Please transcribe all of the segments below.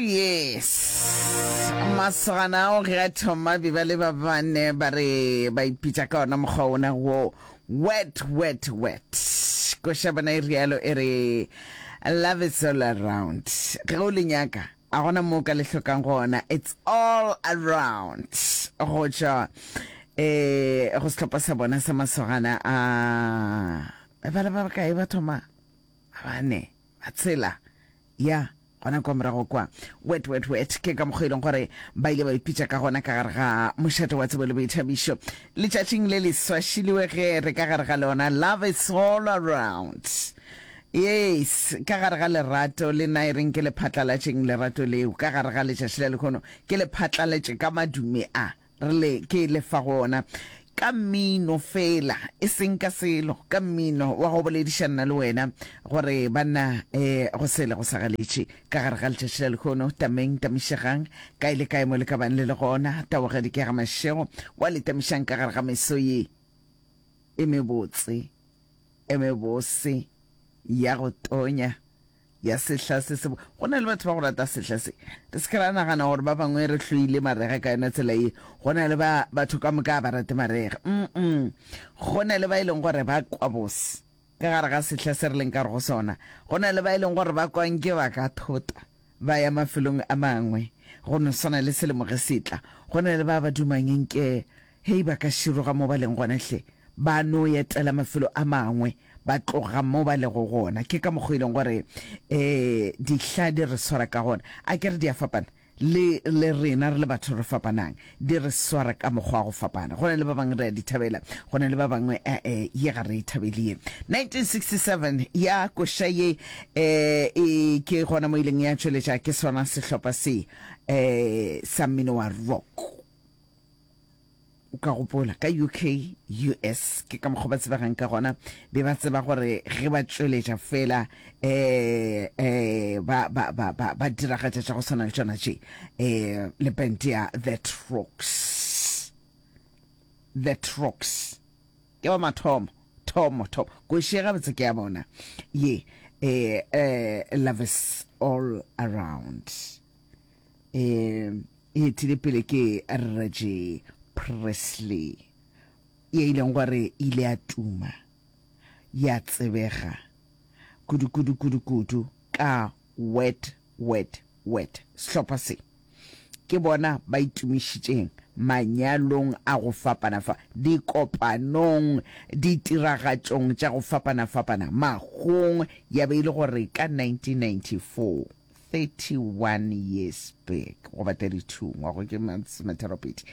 yes. Masogana ao ge a thoma be ba le ba bane ba re ba ipitša ka ona mokgwa ona wo wet wet wet. Koša bona e rialo e re love is all around. Ge o le nyaka a gona mo ka le hlokang gona it's all around. Go tšwa eh go sehlopha sa bona sa masogana a ba le ba bakae ba thoma ba bane ba tshela Ya, gona kwa morago kwa. Wet, wet, wet, ke ka mokgwa e leng gore ba ile ba ipitša ka gona ka gare ga mošate wa tsebo le boithabišo. Letšatšing le le swašiliwe ge re ka gare ga lona, Love is all around. Yes, ka gare ga lerato, le nna e reng ke le phatlalatšeng lerato leo ka gare ga letšatši la lehono, ke le phatlalatše ka madume a. Re le, ke le fa go ona ka mmino feela, e seng ka selo, ka mmino wa go boledišana le wena, gore banna, e, go sele go sa galetše ka gare ga letšatši la lehono, tameng, tamišegang, kae le kae mo le ka bang le le gona, taogedi ke ga mašego, wa le tamišang ka gare ga meso ye e mebotse, e mebose, ya go tonya. ya sehla se se Go na le batho ba go rata sehla se. Re se ke ra nagana gore ba bangwe re hloile marega ka yona tsela ye. Go na le ba batho ka moka ba rate marega. Mm-mm. Go na le ba e leng gore ba kwa bose ka gare ga sehla se re leng ka go sona. Go na le ba e leng gore ba kwa nke ba ka thota ba ya mafelong a mangwe go no swana le selemo ge se tla. Go na le ba ba dumang nke Hei, ba ka široga mo ba leng gona hle, ba no etela mafelo a mangwe, ba tloga mo ba lego gona. Ke ka mokgwa e leng gore um dihla di re swara ka gona. A ke re di a fapana, le, le rena re le batho re fapanang, di re swara ka mokgwa wa go fapana. Go na le ba bangwe re a di thabela, go na le ba bangwe e-e, ye ga re e thabele ye. 1967 ya koša ye um e ke gona mo ileng ya tšweletša ke sona sehlopha se um sa mmino wa rock. O ka gopola, ka UK, US, ke ka mokgwa ba tsebegang ka gona, be ba tseba gore ge ba tšweletša fela um um ba, ba, ba, ba, ba diragatša tša go swana le tšona tše, um le band ya The Trucks. The Trucks. Ke ba mathomo, thomo, thomo. Koši gabotse ke ya bona ye, um um Love is All Around. E etile pele ke Reggie Presley, ye e leng gore e ile ya tuma, ya tsebega kudu-kudu kudu-kudu ka Wet Wet Wet. Sehlopha se ke bona ba itumišitšeng manyalong a go fapana-fa, dikopanong, ditiragatšong tša go fapana-fapana, mahung, ya be e le gore ka 1994 31 years back goba 32 ngwago ke masometharopedi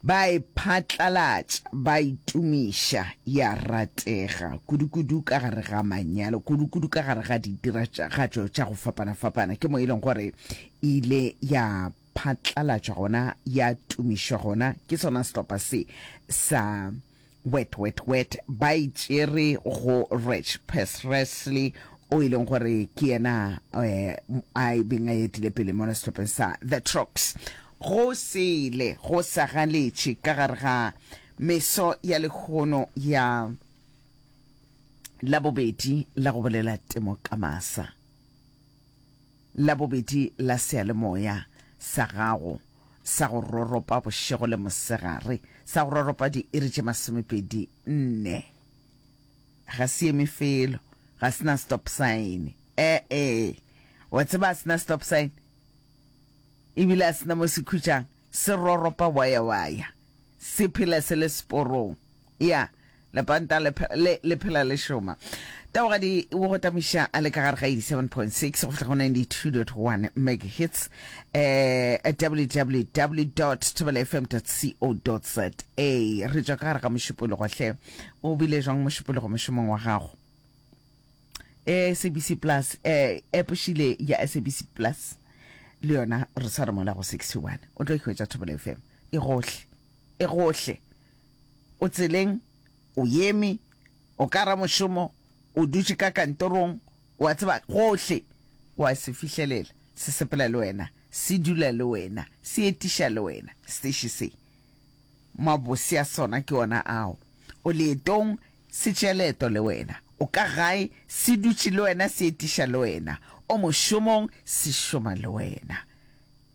ba e phatlalatša ba itumiša ya ratega kudukudu ka gare ga manyalo kudukudu ka gare ga ditiragatšo tša go fapana-fapana ke mo e leng gore e ile ya phatlalatšwa gona ya tumišwa gona ke sona sehlopha se sa Wet wet wet ba e tšere go Reg Presley o e leng gore ke yena eh, a e beng a etile pele mola sehlopheng sa The Trucks. Go sele go sa galetše ka gare ga meso ya lehono ya Labobedi la go bolela temo ka masa. Labobedi la seyalemoya sa gago sa go roropa bošego le mosegare, sa go roropa diiri tše masomepedi nne. Ga se eme felo, ga se na stop sign. E-e, wa tseba a se na stop sign, ebile a se na mo se khutšang, se roropa waya-waya, se phela se le seporong. Ya, lepanta le, le, le phela le šoma. Tabogadi o go tamiša a le ka gare ga 87.6 go fihla go 92.1 megahertz eh www.thobelafm.co.za. Re tšwa ka gare ga Mošupologo hle. O bile jwang Mošupologo mošomong wa gago? Eh SABC Plus eh app šile ya SABC Plus le yona re sware mola go 61. O tlo ikhwetša Thobela FM e gohle. E gohle. O tseleng, o eme, o ka ramošomo, o dutše ka kantorong, o a tseba, gohle o a se fihlelela. Se sepela le wena, se dula le wena, se etiša le wena, seteše se. Mabose a sona ke ona ao. O leetong, se tšea leeto le wena. O ka gae, se dutše le wena, se etiša le wena. O mošomong, se šoma le wena.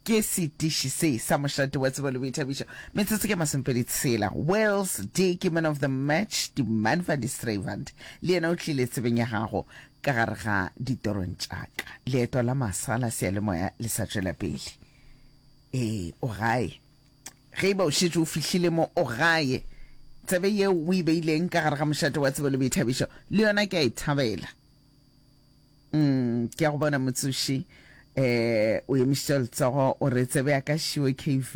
Ke setiši se sa mošate wa tsebo le boithabišo. Metsotso ke masomepedi tshela. Wales D ke man of the match, Die Man van die Strywand le yena o tlile tsebeng ya gago ka gare ga ditorong tša ka. Leeto la masa la seyalemoya le sa tšwela pele. Ee, o gae. Ge e ba o šetše o fihlile mo, o gae. Tsebe yeo o e beileng ka gare ga mošate wa tsebo le boithabišo le yona ke a e thabela. Mm, ke a go bona motsoši. Eh, o emišitše letsogo o re tsebe ya ka šiwe KV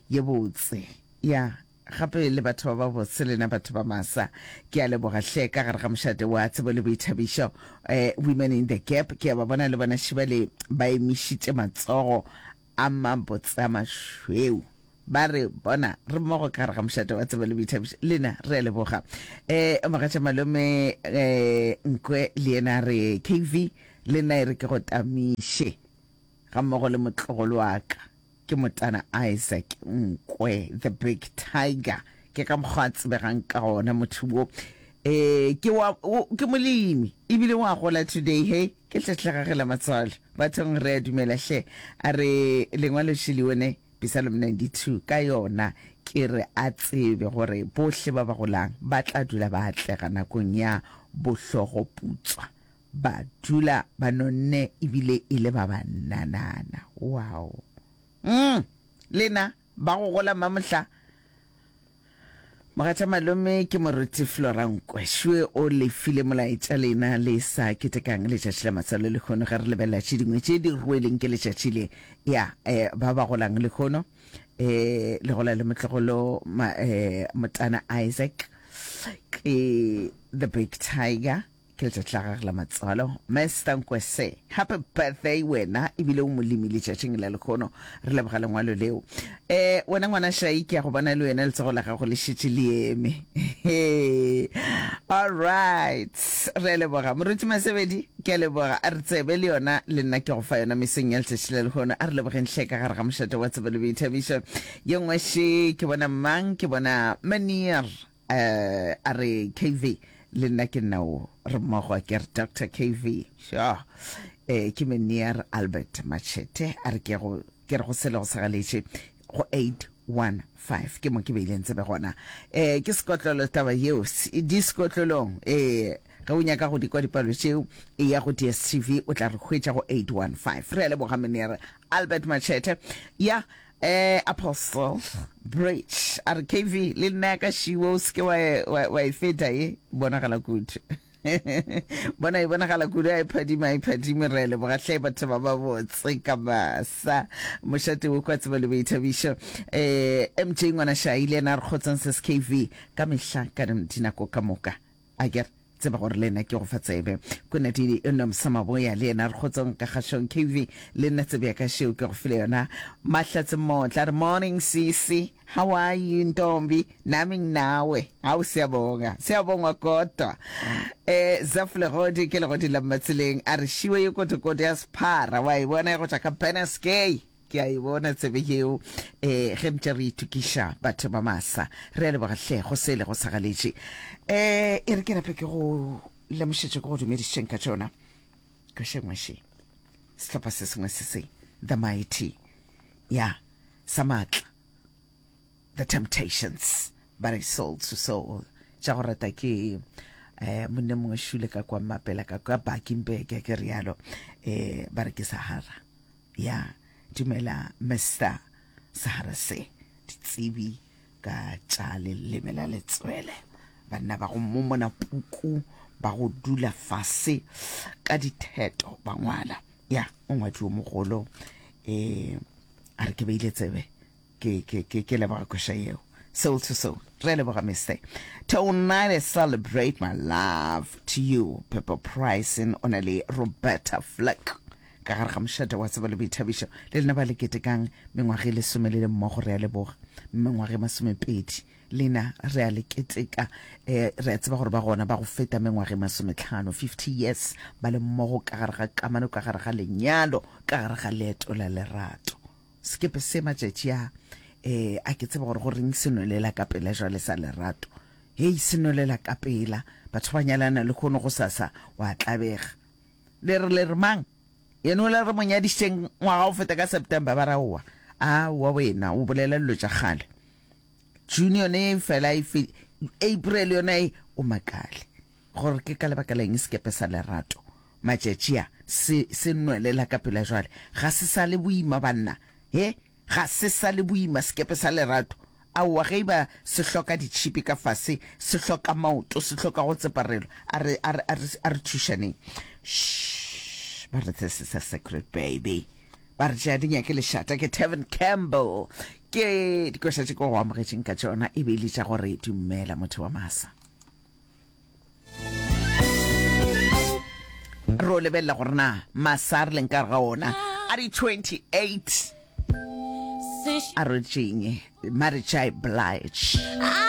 ye botse. Ya, gape le batho ba ba botse lena batho ba masa. Ke a leboga hle ka gare ga mošate wa tsebo le boithabišo. Eh, Women in the Gap, ke a ba bona le bona šiba le ba emišitše matsogo a mabotse a mašweu. Ba re, Bona, re mmogo ka gare ga mošate wa tsebo le boithabišo. Lena, re a leboga. Um mogatša malome um Nkwe le yena a re, KV, le nna e re ke go tamiše ga mmogo le motlogolo wa ka, ke motana Isaac Nkwe, the big tiger. Ke ka mokgwa a tsebegang ka gona motho wo. Um ke wa, o, ke molemi, ebile wa gola today, he. Ke tlhahlegage la matswalo. Bathong re a dumela hle. A re lengwalo šele ne? Psalm 92, ka yona ke re a tsebe gore bohle ba ba golang ba tla dula ba atlega nakong ya bohlogoputswa, ba dula ba nonne ebile e le ba bannanana. Wow! Mm! Lena ba go gola mamohla Mogatša malome ke moruti Flora Nkwe. Šue o le file molaetša lena le sa ketekang letšatši la matswalo lehono ge re lebelela tše dingwe tše di rweleng ke letšatši le. Ya, eh, ba ba golang lehono, eh, le gola le motlogolo ma, eh, motana Isaac ke the big tiger. Ke letšatši la gage la matswalo. Mister Nkwese, happy birthday wena, ebile o molemi letšatšing la lekgono. Re leboga lengwalo leo. Eh, wena ngwana Shai, ke ya go bona le wena letsogo la gago le šetše le eme. All right, re a leboga. Moruti Masebedi, ke a leboga. A re tsebe le yona, le nna ke go fa yona mesong ya letšatši la lehono. A re lebogeng hle ka gare ga mošate wa tsebo le boithabišo. Ye nngwe še, ke bona mang? Ke bona Meneer. Eh, a re KV, le nna ke nna o, re mmogo a ke re Doctor KV. Sure. Eh, ke Meneer Albert Machete, a re ke go, ke re go sele go sagaletše go 815 ke mo ke beileng tsebe gona. Eh, ke sekotlolo taba yeo, di sekotlolong. Eh, ge o nyaka go di kwa dipalo tšeo, e ya go DSTV o tla re hwetša go 815. Re a leboga Meneer Albert Machete. Ya, Eh, Apostle Bridge a re KV le nna ya ka šiwo o seke wa, wa, wa e feta e bonagala kudu. Bona e bonagala kudu a e phadima e phadime re leboga hle batho ba ba botse ka masa. Mošate wo kwa tsebo le boithabišo. Eh, MJ ngwana Shai le yena a re kgotsong ses KV ka mehla ka dinako ka moka. A ke re tseba gore le nna ke go fa tsebe. Konadidi Nomsa Maboya le yena re kgotsong ka kgašong. KV le nna tsebe ya ka šeo ke go file yona. Mahlatse Motla re morning sisi, how are you ntombi? Nami nginawe. Hau siyabonga. Siyabongwa kodwa. Eh Zaf Legodi ke legodi la Mmatseleng a re šiwe ye kotokoto ya sephara wa e bona ya go tšwa ka Beneskei. Ke a e bona tsebe yeo eh ge ntše re itokiša batho ba masa. Re a leboga hle go se le go sa galetše. Eh e re ke nape ke go lemošetše ke go dumedišeng ka tšona. Ka šengwe še. Sehlopha se sengwe se se The Mighty. Ya sa matla. The Temptations ba re soul to soul. Tša go rata ke eh monne mongwe šule ka kwa Mmapela ka kwa Bakenberg ke rialo. Eh ba re ke Sahara. Ya dumela Mister Sahara se ditsebi ka tša leleme la letswele banna ba go momona puku ba go dula fase ka ditheto ba ngwala ya mongwadi yo mogolo um a re ke beile tsebe ke ke ke ke leboga koša yeo soul to soul re leboga mister tonight I celebrate my love to you Pepper Pricing o na le Roberta Flack ka gare ga mošate wa tsebo le boithabišo le lena ba le ketekang mengwaga e lesome le le mmogo re a leboga mengwaga e masomepedi lena re a le keteka um re a tseba gore ba gona ba go feta mengwaga e masometlhano 50 years ba le mmogo ka gare ga kamano ka gare ga lenyalo ka gare ga leeto la lerato Sekepe se matšatši a, eh, a ke tsebe gore go reng se nwelela ka pela jwale sa lerato. Hei, se nwelela ka pela. Batho ba nyalana lehono gosasa wa tlabega. Le re le re mang? Yena o la re mo nyadišitšeng ngwaga o feta ka September, ba re aowa. Aowa wena, o bolela dilo tša kgale. June yone e fela e fe, April yona e, o makale. Gore ke ka lebaka la eng sekepe sa lerato matšatši a se, se nwelela ka pela jwale. Ga se sa le boima banna. He, ga se sa le boima sekepe sa lerato. Aowa, ge e ba se hloka ditšhipi ka fase, se hloka maoto, se hloka go tseparelwa, a re, a re, a re, a re thušaneng. Shh, ba re this is a secret baby. Ba re tšea di nyake lešata ke Tevin Campbell. Ke dikoša tše ke go amogetšeng ka tšona e be e le tša gore dumela motho wa masa. Ro lebelela gore na masa a re leng ka ga ona a di 28 a rotšeng Mary J Blige.